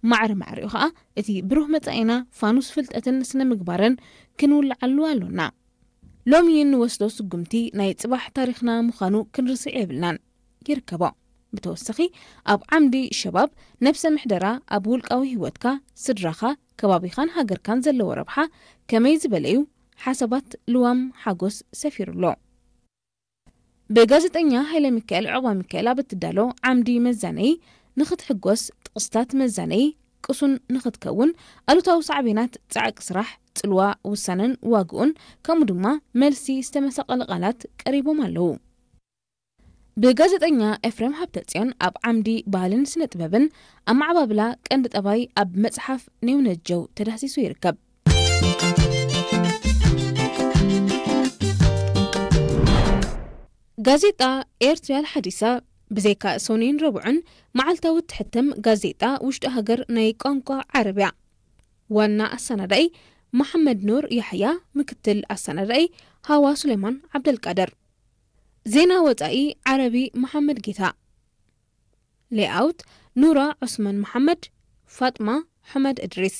ማዕረ ማዕሪኡ ኸኣ እቲ ብሩህ መጻኢና ፋኑስ ፍልጠትን ስነ ምግባርን ክንውልዓሉ ኣሎና። ሎሚ እንወስዶ ስጉምቲ ናይ ጽባሕ ታሪኽና ምዃኑ ክንርስዕ የብልናን። ይርከቦ። ብተወሳኺ ኣብ ዓምዲ ሸባብ ነብሰ ምሕደራ ኣብ ውልቃዊ ህይወትካ፣ ስድራኻ፣ ከባቢኻን ሃገርካን ዘለዎ ረብሓ ከመይ ዝበለ እዩ? ሓሳባት ልዋም ሓጎስ ሰፊሩ ኣሎ። ብጋዜጠኛ ሃይለ ሚካኤል ዑቕባ ሚካኤል ኣብ እትዳሎ ዓምዲ መዛነይ ንኽትሕጎስ ጥቕስታት መዛነይ ቅሱን ንኽትከውን ኣሉታዊ ሳዕቤናት ጻዕቂ ስራሕ፣ ጽልዋ፣ ውሳነን ዋግኡን ከምኡ ድማ መልሲ ዝተመሳቐለ ቃላት ቀሪቦም ኣለዉ። ብጋዜጠኛ ኤፍሬም ሃብተጽዮን ኣብ ዓምዲ ባህልን ስነ ጥበብን ኣመዓባብላ ቀንዲ ጠባይ ኣብ መጽሓፍ ኔውነጀው ተዳህሲሱ ይርከብ። ጋዜጣ ኤርትርያ ሓዲሳ ብዘይካ ሶኒን ረቡዕን መዓልታዊ እትሕተም ጋዜጣ ውሽጢ ሃገር ናይ ቋንቋ ዓረብያ። ዋና ኣሰናዳኢ መሓመድ ኑር ያሕያ፣ ምክትል ኣሰናዳኢ ሃዋ ሱሌማን ዓብደልቃድር። ዜና ወጻኢ ዓረቢ መሓመድ ጌታ። ሌኣውት ኑራ ዑስማን መሓመድ፣ ፋጥማ ሑመድ እድሪስ።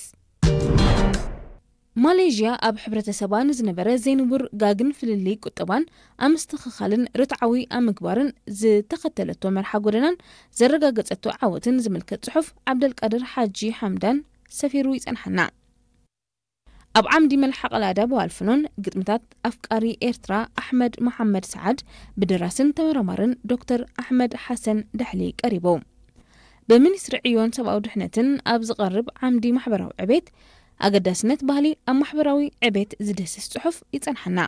ማሌዥያ ኣብ ሕብረተሰባ ንዝነበረ ዘይንቡር ጋግን ፍልልይ ቁጠባን ኣብ ምስትኽኻልን ርትዓዊ ኣብ ምግባርን ዝተኸተለቶ መርሓ ጎደናን ዘረጋገጸቶ ዓወትን ዝምልከት ጽሑፍ ዓብደልቃድር ሓጂ ሓምዳን ሰፊሩ ይጸንሓና። ኣብ ዓምዲ መልሓቕ ላዳ ብዋልፍኖን ግጥምታት ኣፍቃሪ ኤርትራ ኣሕመድ መሓመድ ሰዓድ ብደራስን ተመራማርን ዶክተር ኣሕመድ ሓሰን ዳሕሊ ቀሪቡ። ብሚኒስትሪ ዕዮን ሰብኣዊ ድሕነትን ኣብ ዝቐርብ ዓምዲ ማሕበራዊ ዕቤት ኣገዳስነት ባህሊ ኣብ ማሕበራዊ ዕቤት ዝድህስስ ጽሑፍ ይጸንሓና።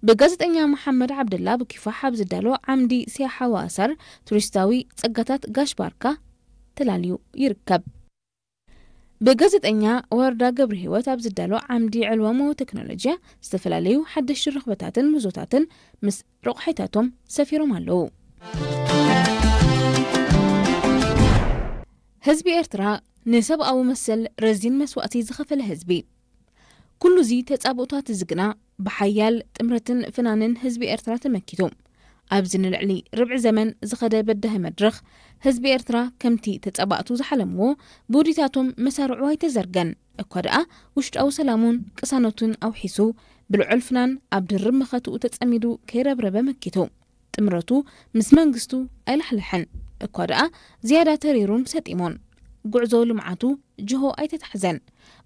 ብጋዜጠኛ መሓመድ ዓብደላ ብኪፋሕ ኣብ ዝዳሎ ዓምዲ ሲያሓ ወኣሳር ቱሪስታዊ ጸጋታት ጋሽ ባርካ ተላልዩ ይርከብ። ብጋዜጠኛ ወረዳ ገብረ ህይወት ኣብ ዝዳሎ ዓምዲ ዕልዋሞ ቴክኖሎጂያ ዝተፈላለዩ ሓደሽቲ ርኽበታትን ምህዞታትን ምስ ረቑሒታቶም ሰፊሮም ኣለዉ። ህዝቢ ኤርትራ ንሰብኣዊ መሰል ረዚን መስዋእቲ ዝኸፈለ ህዝቢ። ኩሉ እዚ ተጻብኦታት እዚ ግና ብሓያል ጥምረትን ፍናንን ህዝቢ ኤርትራ ተመኪቱ። ኣብዚ ንልዕሊ ርብዒ ዘመን ዝኸደ በዳሂ መድረኽ ህዝቢ ኤርትራ ከምቲ ተጻባእቱ ዝሓለምዎ ብውዲታቶም መሳርዑ ኣይተዘርገን። እኳ ደኣ ውሽጣዊ ሰላሙን ቅሳነቱን ኣውሒሱ ብልዑል ፍናን ኣብ ድርብ መኸትኡ ተጸሚዱ ከይረብረበ መኪቱ። ጥምረቱ ምስ መንግስቱ ኣይላሕለሐን። እኳ ደኣ ዝያዳ ተሪሩን ሰጢሞን። ጉዕዞ ልምዓቱ ጅሆ ኣይተታሕዘን።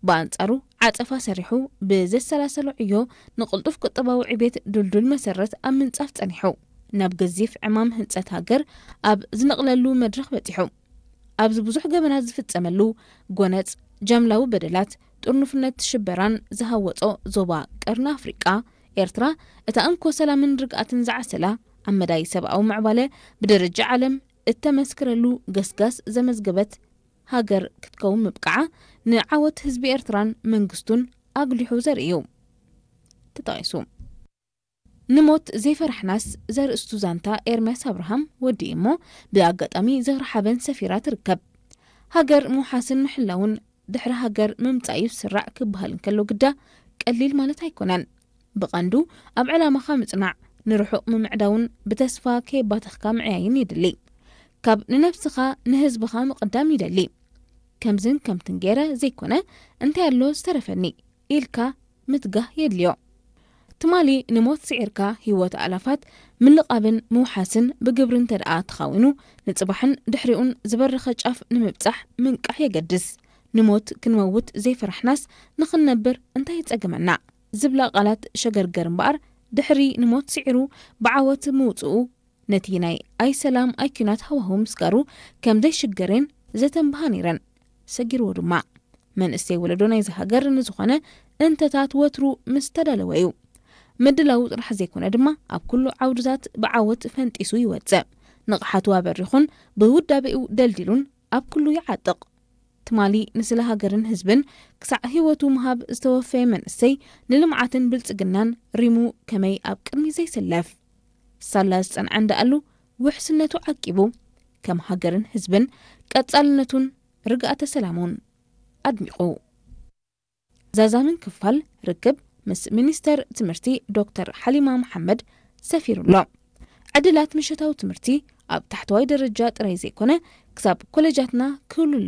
ብኣንጻሩ ዓጸፋ ሰሪሑ ብዘሰላሰሎ ዕዮ ንቕልጡፍ ቁጠባዊ ዕቤት ድልዱል መሰረት ኣብ ምንጻፍ ጸኒሑ። ናብ ገዚፍ ዕማም ህንጸት ሃገር ኣብ ዝነቕለሉ መድረኽ በጺሑ። ኣብዚ ብዙሕ ገበናት ዝፍጸመሉ ጎነጽ ጃምላዊ በደላት፣ ጥርኑፍነት ሽበራን ዝሃወጾ ዞባ ቀርኒ ኣፍሪቃ፣ ኤርትራ እታ እንኮ ሰላምን ርግኣትን ዝዓሰላ፣ ኣብ መዳይ ሰብኣዊ ምዕባለ ብደረጃ ዓለም እተመስክረሉ ገስጋስ ዘመዝገበት ሃገር ክትከውን ምብቃዓ ንዓወት ህዝቢ ኤርትራን መንግስቱን ኣጉሊሑ ዘርኢ እዩ። ተጠቒሱ። ንሞት ዘይፈራሕናስ ዘርእስቱ ዛንታ ኤርምያስ ኣብርሃም ወዲኡ እሞ ብኣጋጣሚ ዝኽሪ ሓበን ሰፊራ ትርከብ። ሃገር ምውሓስን ምሕላውን ድሕሪ ሃገር ምምጻእ እዩ ዝስራዕ ክበሃል እንከሎ ግዳ ቀሊል ማለት ኣይኮነን። ብቐንዱ ኣብ ዕላማኻ ምጽናዕ፣ ንርሑቕ ምምዕዳውን ብተስፋ ከየባተኽካ ምዕያይን የድሊ። ካብ ንነብስኻ ንህዝብኻ ምቕዳም ይደሊ። ከምዝን ከምትን ገይረ ዘይኮነ እንታይ ኣሎ ዝተረፈኒ ኢልካ ምትጋህ የድልዮ። ትማሊ ንሞት ስዒርካ ህይወት ኣላፋት ምልቓብን ምውሓስን ብግብሪ እንተ ደኣ ተኻዊኑ፣ ንጽባሕን ድሕሪኡን ዝበረኸ ጫፍ ንምብጻሕ ምንቃሕ የገድስ። ንሞት ክንመውት ዘይፈራሕናስ ንኽንነብር እንታይ ይጸገመና? ዝብላ ቃላት ሸገርገር እምበኣር፣ ድሕሪ ንሞት ስዒሩ ብዓወት ምውጽኡ ነቲ ናይ ኣይሰላም ኣይኲናት ሃዋህው ምስጋሩ ከም ዘይሽገሬን ዘተንብሃ ነይረን። ሰጊርዎ ድማ። መንእሰይ ወለዶ ናይዚ ሃገር ንዝኾነ እንተታት ወትሩ ምስ ተዳለወ እዩ። ምድላዉ ጥራሕ ዘይኮነ ድማ ኣብ ኩሉ ዓውድታት ብዓወት ፈንጢሱ ይወጽእ። ንቕሓቱ ኣበሪኹን ብውዳቤኡ ደልዲሉን ኣብ ኩሉ ይዓጥቕ። ትማሊ ንስለ ሃገርን ህዝብን ክሳዕ ህይወቱ ምሃብ ዝተወፈየ መንእሰይ ንልምዓትን ብልጽግናን ሪሙ ከመይ ኣብ ቅድሚ ዘይሰለፍ? ሳላ ዝጸንዐ እንዳኣሉ ውሕስነቱ ዓቂቡ ከም ሃገርን ህዝብን ቀጻልነቱን ርግኣተ ሰላሙን ኣድሚቑ። ዛዛምን ክፋል ርክብ ምስ ሚኒስተር ትምህርቲ ዶክተር ሓሊማ መሓመድ ሰፊሩ ኣሎ። ዕድላት ምሸታዊ ትምህርቲ ኣብ ታሕተዋይ ደረጃ ጥራይ ዘይኮነ ክሳብ ኮሌጃትና ክህሉ ኣለዎ።